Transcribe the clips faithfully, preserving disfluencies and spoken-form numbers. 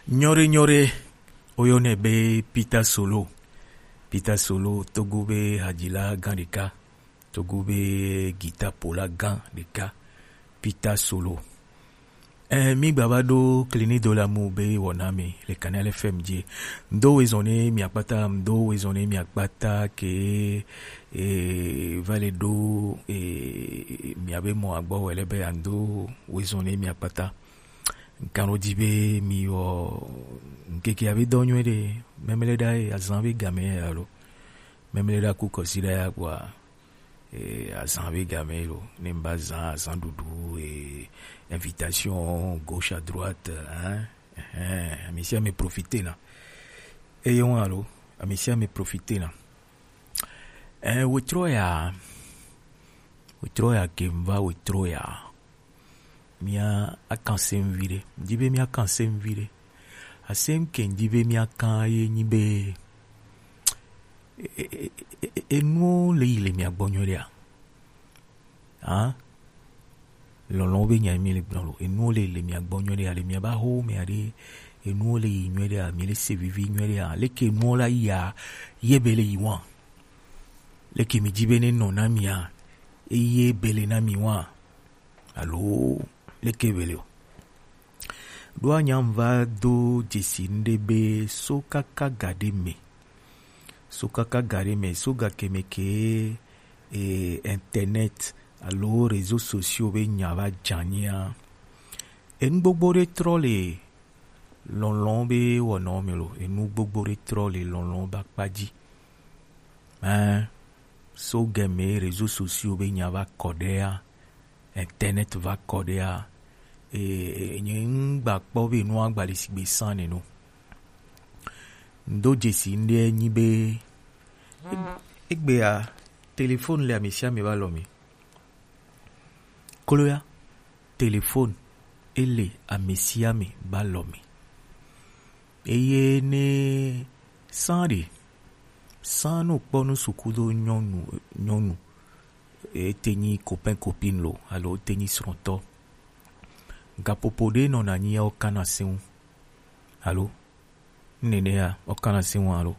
Nyɔre nyɔre, woyɔnɛ be Peter Solo. Peter Solo, Togo be hadzila gã ɖeka, Togo be guitar ƒola gã ɖeka, Peter Solo. Ɛ, mi gba va ɖo Clinique de l'amour be wɔna mi le Canal F M dzi. Ŋdo wezɔn ne mi akpata, ŋdo wezɔn ne mi akpata ke, e, va le ɖo, e, mi abe mɔ agbɔ wɛ le be ando wezɔn ne mi akpata. Ŋkan ɖo dzi be mi wɔ ŋkeke abe dɔ nyuie ɖe, mɛmlɛ ɖa ye azan be game ya lo. Mɛmlɛ ɖa ku kɔsi ɖa ya kpɔa, e, azan be game lo. Ne mi ba zan azan ɖuɖu, e, invitation gauche à droite, hein. Ɛhɛn, ami sia mi profite na. Eye ŋu alo, ami sia mi profite na. Ɛ, wetrɔ ya, wetrɔ ya ke mi va wetrɔ ya. Mia akan sem vi ɖe. Di be mia kan sem vi ɖe. Asem ke di be mia kan ye nyi be, e, e, e, e, enuwo le yi le mia gbɔ nyuie ɖea? Hã? Lɔlɔ̃ be nya mi le gblɔ lo. Enuwo le le mia gbɔ nyuie ɖea, le mia ba ho mea ɖe, enuwo le yi nyuie ɖea, mi le se vivi nyuie ɖea, leke enuwo la yia, ye be le yi wa? Leke mi di be ne nɔ na mia, eye be le na mi wa? Alo leke be le o? Ɖo anya va do dzesi ŋɖe be so kaka ga ɖe me. So kaka ga ɖe me, so ga ke me ke, e, internet alo réseaux sociaux be nya va dzanyia. Enu gbogbo ɖe trɔ le lɔlɔ̃ be wɔnɔ me lo. Enu gbogbo ɖe trɔ le lɔlɔ̃ be akpa dzi. Ɛn, so game réseaux sociaux be nya va kɔ ɖea, internet va kɔ ɖea, e, e, nye ŋgba kpɔ be nua gba le sigbe san neno. Ŋdo dzesi ŋɖe nyi be, e, egbea, téléphone le ame sia ame va lɔ me. Kloya, téléphone, ele ame sia ame ba lɔ me. Eye ne san ɖe, san no kpɔ nu suku do nyɔnu, nyɔnu, ete nyi copain copine lo, alo ete nyi srɔ̃tɔ. Gaƒoƒo ɖe nɔna nyi ya wo kana se ŋu. Alo? Nenea, wo kana se ŋu alo?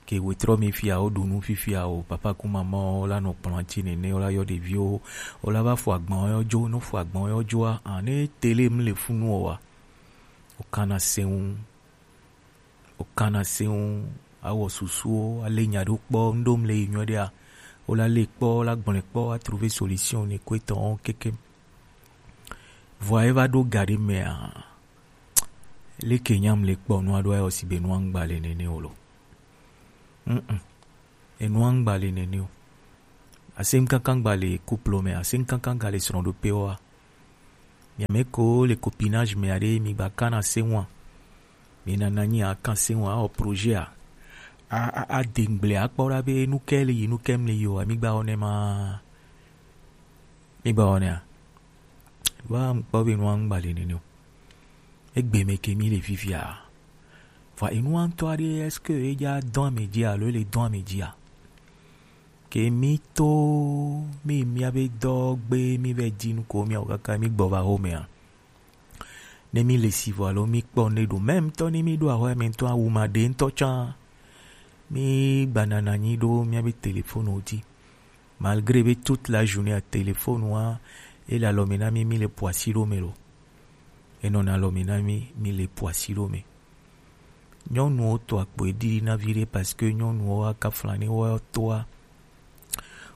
Ke wetrɔ mi fia, wo ɖu nu fifia o, papa ku mama wo la nɔ kplɔ̃a dzi nene, wo la yɔ ɖeviwo, wo la va fɔ agban yɔ dzo, no fɔ agban yɔ dzoa, a, ne tele mi le funu o wa, wo kana se ŋu, wo kana se ŋu, awɔ susuwo, ale nya ɖo kpɔ, ŋɖo mi le yi nyuie ɖea, wo la le kpɔ, la gblɔe kpɔ, a trouver solution ne kue tɔn kekem. Vɔa eva ɖo ga ɖe mea, leke nyam le kpɔ nua ɖo ayɔ si be nua ŋgba le nene o lo. Mm-mm. Enua ŋgba le nene o. Asem kankan gba le couple me, asem kankan ga le srɔ̃ɖoƒe wa. Mia me ko le copinage me aɖe, mi gba kana se ŋua. Mi nana nyi a kan se ŋua, o projet a. A, a, a dengble a kpɔ ɖa be nu ke le yi, nu ke mle yi o, mi gba wɔnɛ ma. Mi gba wɔnɛ a. Wa ŋkpɔ be nua ŋgba le nene o. Egbe me ke mi le fifia. Vɔa enua ŋutɔ aɖe, est-ce que edza dɔn ame dzi alo ele dɔn ame dzia? Ke mi to mi mia be dɔ gbe mi be di nu ko mi awo kaka mi gbɔ va ho mea. Ne mi le si vɔ alo mi kpɔ ne ɖo, même tɔ ne mi ɖo ahɔ me ŋutɔ awu ma ɖe ŋutɔ tsã. Mi gbanana nyi ɖo mia be téléphone wo dzi. Malgré be toute la journée a téléphone wa, ele alɔ me na mi, mi le poasi ɖo me lo. Enɔna alɔ me na mi, mi le poasi ɖo me. Nyɔnuwo to akpo eɖiɖi na vi ɖe parce que nyɔnuwo wa kafla ne wo toa.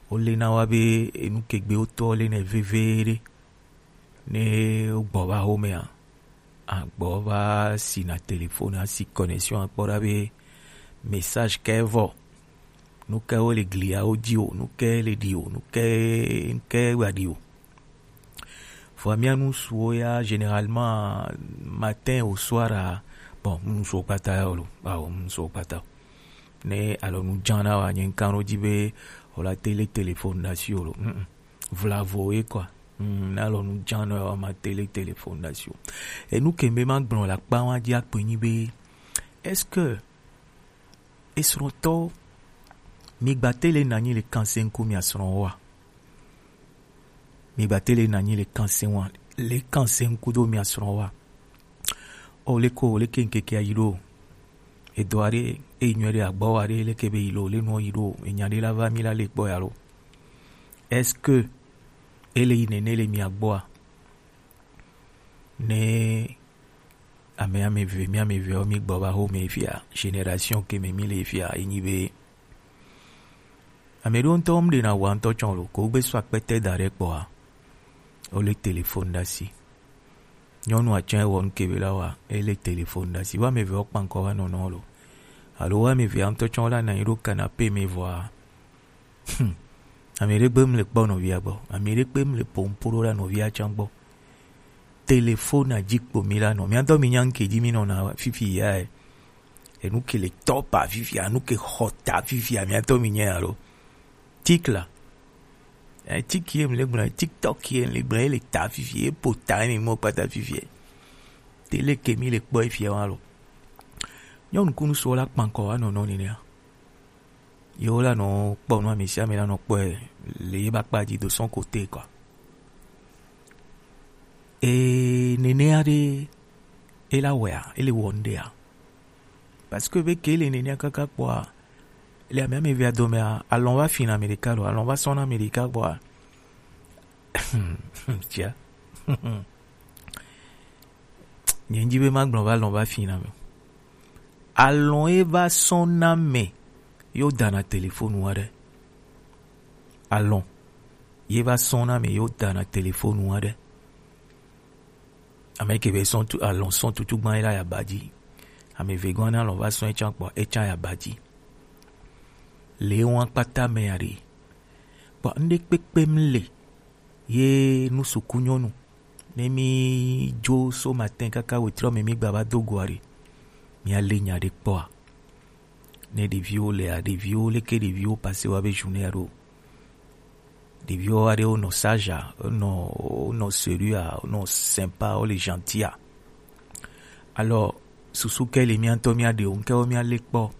Wo le na wa be enu kegbe wo to le ne veve ɖe. Ne wo gbɔ va ho mea, agbɔ va si na téléphone, asi connexion akpɔ ɖa be message ke vɔ. Nu ke wo le gliawo dzi o, nu ke le ɖi o, nu ke, nu ke wa ɖi o. Vɔa mía nu suwo ya, généralement, matin au soir a, bon, nu suwo kpata ya o lo, awo, nu suwo kpata. Ne alɔ nu dzan na wa, nye ŋkan ɖo dzi be, o la télé téléphone ɖe asi o lo. Mm, mm. Vlavo ye quoi. Mm, ne alɔ nu dzan na wa, ma télé téléphone ɖe asi o. Enu ke be ma gblɔ le akpa wa dzi akpe nyi be, est-ce que esrɔ̃tɔwo, mi gba télé nanyi le kanse ŋku mia srɔ̃ wa? Mi gba télé nanyi le kanse wa, le kanse ŋku do mia srɔ̃ wa? o leke o leke ŋkeke a yi ɖo o. Edo aɖe, eyi nyuie ɖe agbɔ aɖe leke be yi lo, le nua yi ɖo o. Enya ɖe la va mi la le kpɔ ya lo. Est-ce que ele yi nene le mia gbɔa? Ne ame ame eve, mi ame eve o mi gbɔ va ho me fia, génération ke me mi le fia, enyi be ame ɖewo ŋutɔ wo mu ɖena wa ŋutɔ tsɔ lo, ko gbe sɔ akpete da ɖe kpɔa, wo le téléphone ɖe asi. Nyɔnu atsɛ wɔ nu ke be la wa, ele téléphone ɖe asi. Wa ame eve wo kpa ŋkɔ wa nɔnɔ lo. Alo wa ame eve ŋutɔ tsɔ la na yi ɖo canapé me vɔa. Hmm. Ame ɖe gbe mu le kpɔ nɔvia gbɔ. Ame ɖe gbe mu le pompo ɖo la nɔvia tsã gbɔ. Téléphone dzi kpo mi la nɔ. Mia dɔ mi nya ŋke dzi mi nɔna fifi ya e. Enu ke le tɔpa fifi, anu ke xɔta fifi, mia dɔ mi nya ya lo. Tik la. Eh, tik ye mi le gblɔ, TikTok ye mi le gblɔ, ele ta fifi, e po ta mi mo kpata fifi. Tele ke mi le kpɔ fifi wa lo. Nyɔnu kunu so la kpankɔ wa nɔnɔ ni ne. Yewo la nɔ kpɔ nu, ame sia ame la nɔ kpɔe le ye ba kpa dzi de son côté quoi. Et nenea ɖe e la wɔea, e le wɔ nu ɖea? Parce que be ke le nenea kaka kpɔa, le ame ame vea domea, alɔn va fina ame ɖeka lo, alɔn va sɔna ame ɖeka kpɔa. Tia. Nye ŋdi be ma gblɔ va lɔn va fi na me. Alɔn ye va sɔn na me yo dana telefonu aɖe. Alɔn ye va sɔn na me yo dana telefonu aɖe. Ame ke be sɔn tu alɔn sɔn tutu gban ye la ya badzi. Ame ve gɔn na alɔn va sɔn etsan kpɔ etsan ya badzi. Le wan kpata me ya ɖe. Kpɔ ŋɖe kpekpe mle. Ye nu suku nyɔnu. Ne mi dzo so matin kaka wetrɔ me mi gba va do go aɖe. Mi ale nya ɖe kpɔa. Ne ɖeviwo lea, ɖeviwo leke ɖeviwo pase wa be journée aɖo. Ɖeviwo aɖewo nɔ sage a, nɔ nɔ sérieux a, nɔ sympa, wo le gentil a. Alors susu ke le mia ŋutɔ mia ɖe o, ŋke wo mia le kpɔ.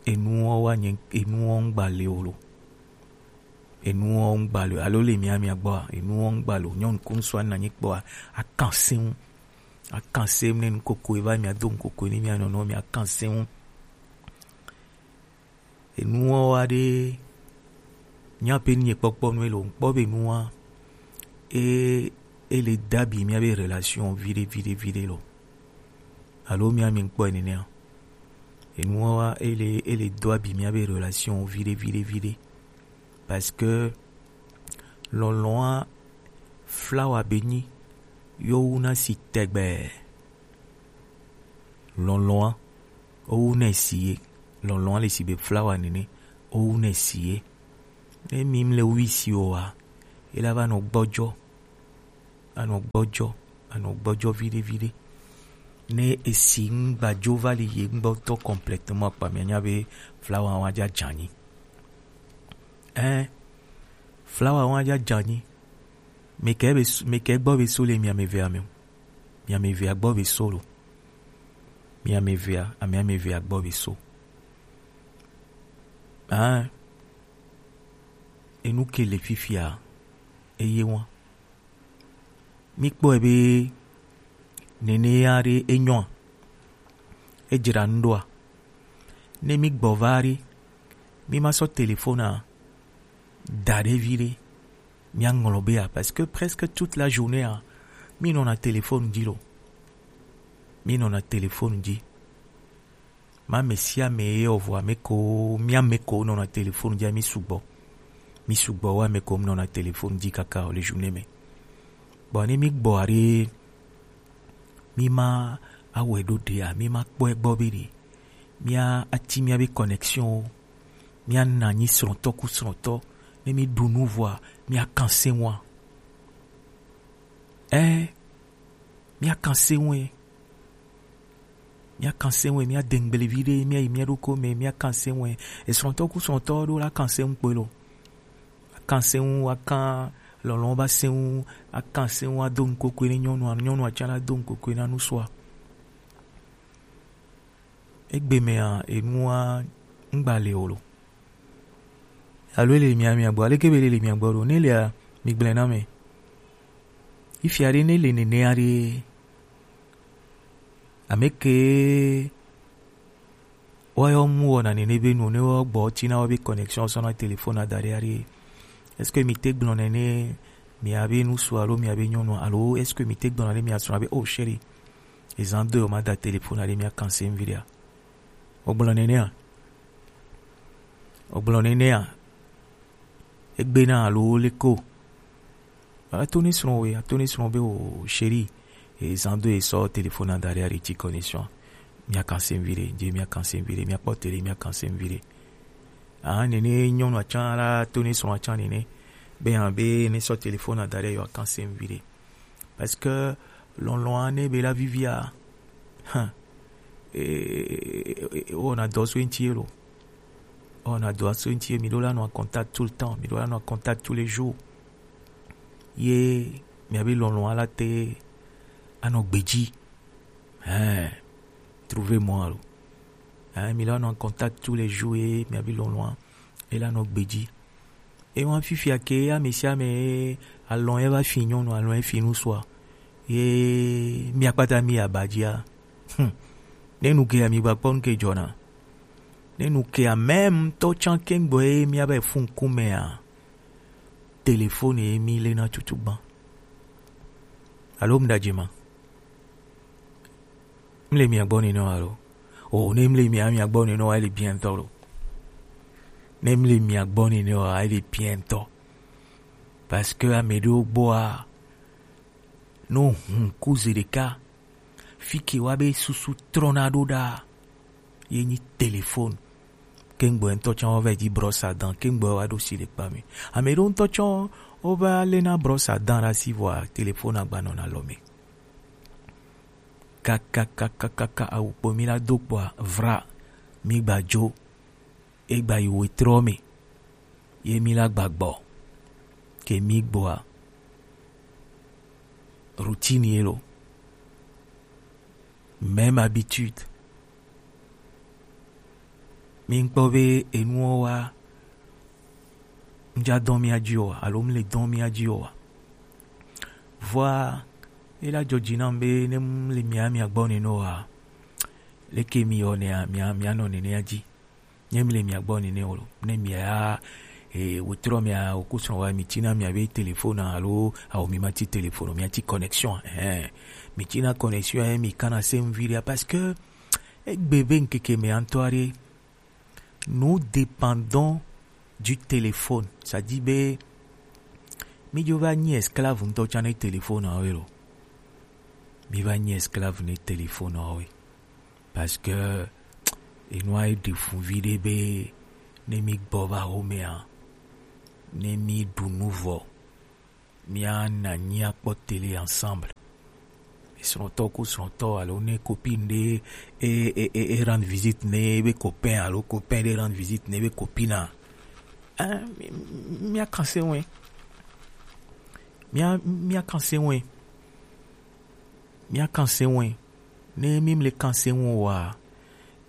Enuwo wa nye enuwo ŋgba le o lo. Enuwo ŋgba le alo le mia mia gbɔa, enuwo ŋgba le o. Nyɔnu ko ŋsua na nyi kpɔa, akan seŋu. Akan seŋu ne nukoko eva mia do nukoko ne mia nɔnɔ mia kan seŋu. Enuwo wa ɖe mia pe nye kpɔkpɔ nu elo ŋkpɔ be nua e ele dabi mia be relation viɖe viɖe viɖe lo. Alo mia mi ŋkpɔ enenea. Enuwo wa ele ele do abi mia be relation viɖe viɖe viɖe. Parce que lɔlɔ̃a flawa be nyi yo wu na si tɛgbɛ. Lɔlɔ̃a o wu na si ye. Lɔlɔ̃a le si be flawa nene o wu na si ye. Ne mi mle wu si o wa, e la va nɔ gbɔjɔ. Anɔ gbɔjɔ, anɔ gbɔjɔ viɖe viɖe. Ne esi ŋgbadzo va li ye ŋgbɔtɔ complètement kpa mia nya be flawa wa dza dzanyi. Ɛn, flawa wa dza dzanyi. Mekɛ be mekɛ gbɔ be so le mia me vea me o. Mia me vea gbɔ be so lo. Mia me vea, amia me vea gbɔ be so. Ɛn, enu ke le fifia, eye wa. Mi kpɔe be nenea ɖe enyɔa, edzra nu ɖoa? Ne mi gbɔ va ɖe, mi ma sɔ telefona da ɖe vi ɖe, mi aŋlɔ be a, parce que presque toute la journée a, mi nɔna telefonu dzi lo. Mi nɔna telefonu dzi. Ma ame sia ame ye o vɔa ame ko mi ame ko nɔna telefonu dzi mi sugbɔ. Mi sugbɔ wa ame ko nɔna telefonu dzi kaka o le journée me. Bon ne mi gbɔ aɖe mi ma awɛ ɖo ɖea mi ma kpɔe gbɔ be ɖe mi a ati mia be connexion o mi a na nyi srɔ̃tɔ ku srɔ̃tɔ ne mi ɖu nu vɔa mi a kan se wa. Ɛ mi a kan se wɛ. Míakan seŋ wɛ, míade ŋgblevi ɖe, míayi mía ɖokui me, míakan seŋ wɛ. Esrɔ̃tɔ ku srɔ̃tɔ ɖo la kan seŋ kpoe lo. Akan seŋ, akan lɔlɔ̃ ba seŋ, akan seŋ ado ŋkokoi ne nyɔnua, nyɔnua tsã la do ŋkokoi na nusua. Egbe mea, enua ŋgba le o lo. Alo ele mia mia gbɔ, aleke be ele le mia gbɔ ɖo? Ne lea, migblɔe na mɛ. Ifia ɖe ne le nenea ɖe, Ameke wa yɔ mu wɔna nene be nu ne wɔ gbɔ tina wɔ be connexion sɔna téléphone adari ari. Est-ce que mi te gblɔ nene mi abe nusu alo mi abe nyɔnu alo est-ce que mi te gblɔ nene mi asrɔ̃ abe oh chérie, ezan do ma da téléphone ari mi akanse mviria? Ogblɔ nene a? Ogblɔ nene a? Egbe na alo leko? Ato ne srɔ̃ we, ato ne srɔ̃ be o chérie, ezan do esɔ téléphone adari ari ti connexion. Mi akanse mviria, je mi akanse mviria, mi akpɔ télé mi akanse mviria. Ah, nene nyɔnu atsan la to ne srɔ̃ atsan nene. Be hã be ne sɔ téléphone adari yɔ akanse mviria. Parce que lɔlɔ̃a ne be la vivia. Hein. Et, et, et, et on a dɔ so enti lo. On a dɔ so enti mi do la no en contact tout le temps, mi do la no en contact tous les jours. Ye mi abi lɔlɔ̃a la te anɔ gbedzi. Hein. Trouvez-moi lo. Hein, mi la no en contact tous les jours ye mi abi lɔlɔ̃a e la nɔ gbedzi. E wa fifia ke ame sia ame alɔ̃ e va fi nyɔnu alɔ̃ e fi nusua. Ye mi akpata mi abadzia. Hmm. Ne nu ke ami gba kpɔ nu ke dzɔna. Ne nu ke amem tɔ tsan ke gbɔ ye mi aba fun kumea. Téléphone ye mi le na tutu gban. Alo mdadzima. Mle mia gbɔ nene wa lo. O ne mle mia mia gbɔ nene wa ele bien tɔ lo. Ne mle mia gbɔ nene wa ele bien tɔ. Parce que ame ɖewo gbɔa no hun ku ze ɖeka. Fi ke wa be susu trɔna ɖo ɖa. Ye nyi téléphone. Kengbe ŋutɔ tsã wo va yi dzi brosse à dents, kengbe wa ɖo si le kpa me. Ame ɖewo ŋutɔ tsã wo va lena brosse à dents ɖe asi vɔa téléphone agba nɔna alɔ me. Kakakakaka awu kpo mi la do kpɔa vra mi gba dzo. E gba yi wetrɔ me. Ye mi la gba gbɔ. Ke mi gbɔa routine ye lo. Même habitude. Mi ŋkpɔ be enuwo wa ŋdza dɔn mia dzi oa alo mle dɔn mia dzi oa. Vɔa ela dzɔ dzi nam be ne mle mia mia gbɔ nene oa, leke mi yɔ nea mia mia nɔ nenea dzi. Ne mle mia gbɔ nene o ne mia e wotrɔ mia okusrɔ̃ wa mi tina mia be téléphone alo awo mi ma ti téléphone mia ti connexion eh mi tina connexion eh mi kana se mviria parce que egbe be ŋkeke me antɔ aɖe. Nous dépendons du téléphone. Ça dit be mi dzo va nyi esclave ŋutɔ tsã ne téléphone awo lo. Mi va nyi esclave ne téléphone awo. Parce que enua ɖe fu viɖe be ne mi gbɔ va xomea ne mi ɖu nu vɔ mia na nyi akpɔ télé ensemble. Srɔ̃tɔ ku srɔ̃tɔ alo ne copine ɖe e e e e rendre visite ne be copain alo copain ɖe rendre visite ne be copine a. Hein, mi- mi- mia kanse wɛ. Mia mia kanse wɛ. Mia kanse wɛ. Ne mi mle kanse wɛ wa,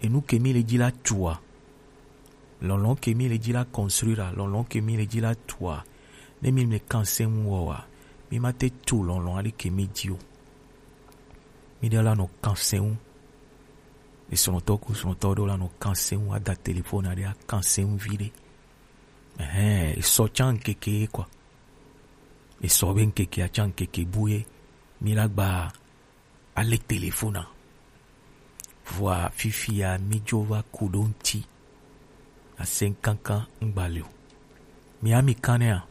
enu ke mi le dzi la tua. Lɔlɔ̃ ke mi le dzi la construire, lɔlɔ̃ ke mi le dzi la tua. Ne mi mle kanse wɛ wa, mi ma te tu lɔlɔ̃ aɖe ke mi dzi o. Mi ɖe la nɔ kanse wɛ. Esrɔ̃tɔ ku srɔ̃tɔ ɖo la nɔ kanse wɛ ada téléphone aɖe akanse wɛ viɖe. Ɛhɛn, esɔ tsã ŋkeke ye kɔ. Esɔ be ŋkeke atsã ŋkeke bu ye. Mi la gba ale téléphone a. Vɔa fifia mi dzo va ku ɖo ŋti. Asɛnkankan ŋgba le o. Mia mi kan nɛa?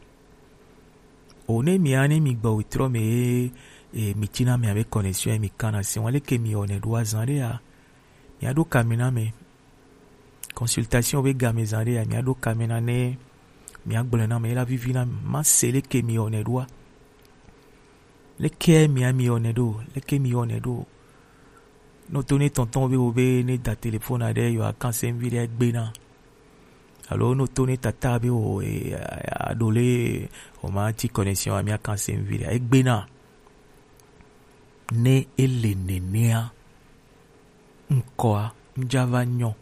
O ne mia ne mi gbɔ wetrɔ me ye e, mi tina mia be connexion ye mi kan na se wa leke mi yɔ nɛ ɖo azan ɖe ya. Mia ɖo ka mi na mɛ. Consultation be game zan ɖe ya mia ɖo ka mi na ne mia gblɔ na mɛ la vivi na ma se leke mi yɔ nɛ ɖoa. Leke mia mi yɔ nɛ ɖo, leke mi yɔ nɛ ɖo. No to ne tɔntɔn be wo be ne da téléphone aɖe yɔ akanse vi ɖe gbe na. Alo no to ne tata be wo e, a- a- aɖo le o ma ti connexion a mia kanse vi ɖe egbe na. Ne ele nenea, ŋkɔa ŋdza va nyɔ.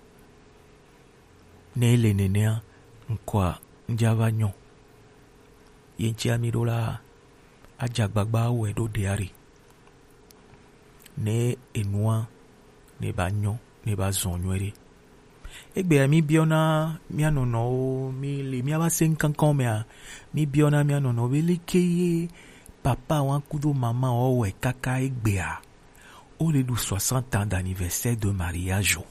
Ne ele nenea, ŋkɔa ŋdza va nyɔ. Ye ŋtsi ami ɖo la, adze agbagba awɔe ɖo ɖe aɖe. Ne enua ne ba nyɔ, ne ba zɔn nyuie ɖe. Egbea mi biɔna mia nɔnɔwo, mi le mia ba se kankan mea, mi biɔna mia nɔnɔwo be leke ye papa wa kudo mama wo wɛ kaka egbea. O le ɖu soixante ans d'anniversaire de mariage o.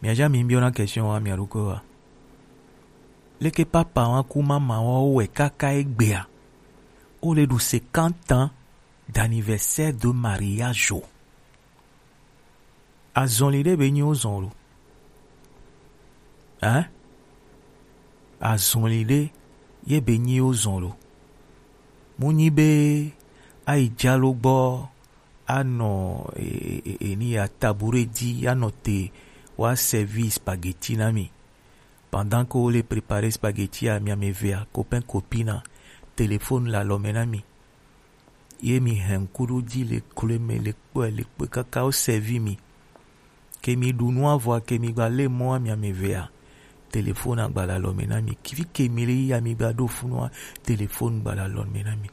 Mia ja mi biɔna question wa mia ɖo ko wa. Leke papa wa ku mama wo wɛ kaka egbea. O le ɖu cinquante ans d'anniversaire de mariage o. Azɔli ɖe be nyi wo zɔn lo. Hein? Azɔli ɖe ye be nyi wo zɔn lo. Mu nyi be ayi jalo gbɔ anɔ e, e, e, eni ya tabure di anɔ te wa servi spaghetti na mi. Pendant que wo le préparer spaghetti a mi ame evea, copain copine a, téléphone le alɔme na mi. Ye mi hɛn ŋku ɖo ji le kloe me le kpɔe le kpɔe kaka wo servi mi. Ke mi ɖu nua vɔa ke mi gba le mɔa mi ame evea, téléphone agba le alɔme na mi. Kivi ke mi le yia mi gba ɖo funua, téléphone gba le alɔme na mi.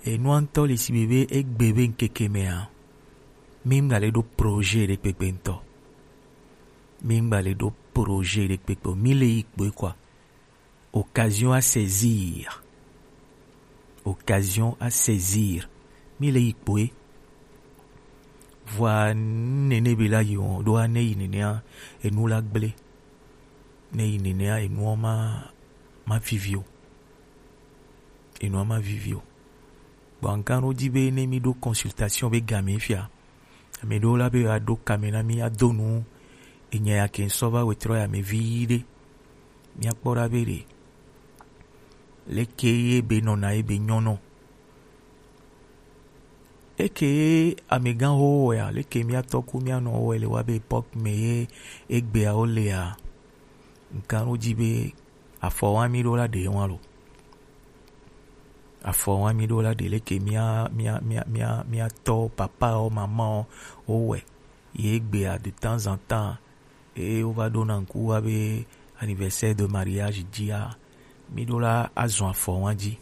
Enua ŋutɔ le si be be egbe be ŋkeke mea, mi ŋgba le ɖo projet ɖe kpekpe ŋutɔ. Mi ŋgba le ɖo projet ɖe kpekpe o. Mi le yi kpoe quoi. Occasion à saisir. Occasion à saisir. Mi le yi kpoe. Vɔa nene be la yi o, ɖo a ne yi nenea, enu la gble. Ne yi nenea, enua ma, ma vivi o. Enua ma vivi o. Bon, ŋkan ɖo ji be ne mi ɖo consultation be game fia. Ame ɖewo la be aɖo kame na mi ado nu. Enya ya ke ŋsɔ va wetrɔ ya me vi ɖe. Mia kpɔ ɖa be ɖe. Leke ye be nɔna ye be nyɔnɔ. Eke ye amegã ho wɛ a, leke mia tɔ ku mia nɔ wɛ le wa be époque me ye egbea wo le a. Ŋkan ɖo ji be afɔ wa mi ɖo la ɖe wa lo. Afɔ wa mi ɖo la ɖe leke mia, mia, mia, mia, mia tɔ, papa o, mama o, wo wɛ. Ye egbea de temps en temps, e wo va ɖo na ŋku wa be anniversaire de mariage ji a, mi ɖo la azɔn afɔ wa ji.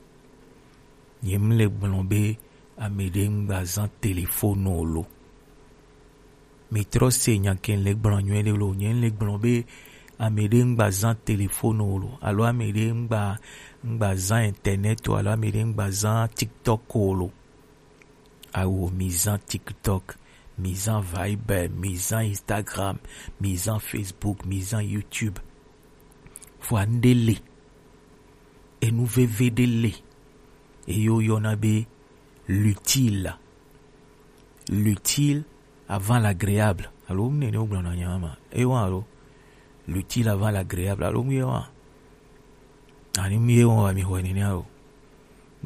Nye mi le gblɔ be ame ɖe ŋgba zan téléphone o lo. Mi trɔ se nya ke le gblɔ nyuie ɖe lo. Nye le gblɔ be ame ɖe ŋgba zan téléphone o lo. Alo ame ɖe ŋgba, ŋgba zan internet o. Alo ame ɖe ŋgba zan TikTok o lo. Awo, mi zan TikTok, mi zan Viber, mi zan Instagram, mi zan Facebook, mi zan YouTube. Vɔa ŋɖe le. Enu veve ɖe le. Eye woyɔna be l'utile. L'utile avant l'agréable. Alo mu nene wogblɔna nya ma. Ewa alo. L'utile avant l'agréable. Alo mu ye wa. Ani mu ye wa mi xɔ nene alo.